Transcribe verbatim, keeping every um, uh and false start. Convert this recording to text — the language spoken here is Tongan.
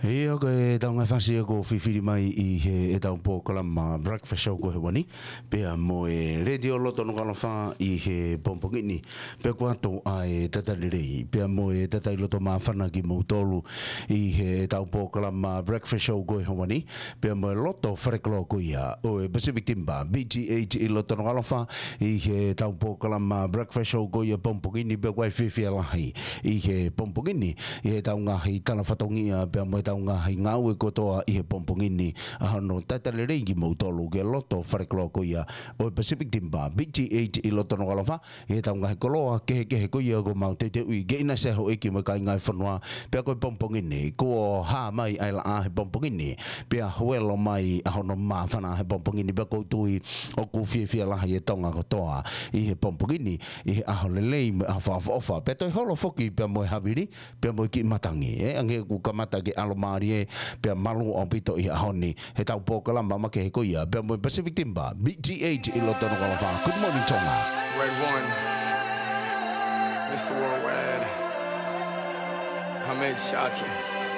ʻIo, ko e tau ngaahi fasi ia kuo fifili mai ʻi heʻetau polokalama Breakfast Show ko e ʻaho ni, pea mo e Letiō Loto Nukuʻalofa ʻi he pongipongi ni, pea kuo ʻoatu ʻa e talitali lelei, pea mo e talitali loto māfana kimoutolu ʻi heʻetau polokalama Breakfast Show ko e ʻaho ni, pea mo e loto falekoloa ko ia ʻo e Pacific Timber, P G H ʻi loto Nukuʻalofa, ʻi heʻetau polokalama Breakfast Show ko ia pongipongi ni, pea ʻoku ʻi ai e fiefia lahi ʻi he pongipongi ni, ʻi heʻetau ngaahi tala fatongia, pea mo ʻetau ngaahi ngāue kotoa ʻi he pongipongi ni, ʻa hono talitali lelei kimoutolu ki he loto falekoloa ko ia ʻo e Pacific Timber, P G H ʻi loto Nukuʻalofa, ʻi heʻetau ngaahi koloa kehekehe ko ia kuo mau teuteuʻi ke ʻinasi ai houʻeiki mo e kāinga e fonua, pea ko e pongipongi ni, kuo hā mai ʻa e laʻā he pongipongi ni, pea huelo mai ʻa hono māfana he pongipongi ni, pea ʻoku ou tui ʻoku fiefia lahi e Tonga kotoa ʻi he pongipongi ni, ʻi he ʻaho lelei mo e ʻaho fakaʻofoʻofa. Pea toe holo foki pea mo e havili, pea mo e kiʻi matangi, ē, hangē kuo kamata ke ʻalomālie, pea malu ʻaupito ʻi he ʻaho ni, heʻetau polokalama makehe ko ia, pea mo e Pacific Timber, P G H ʻi loto Nukuʻalofa. Good morning, Tonga. Red One, Mister Worldwide, Hamed Shaki.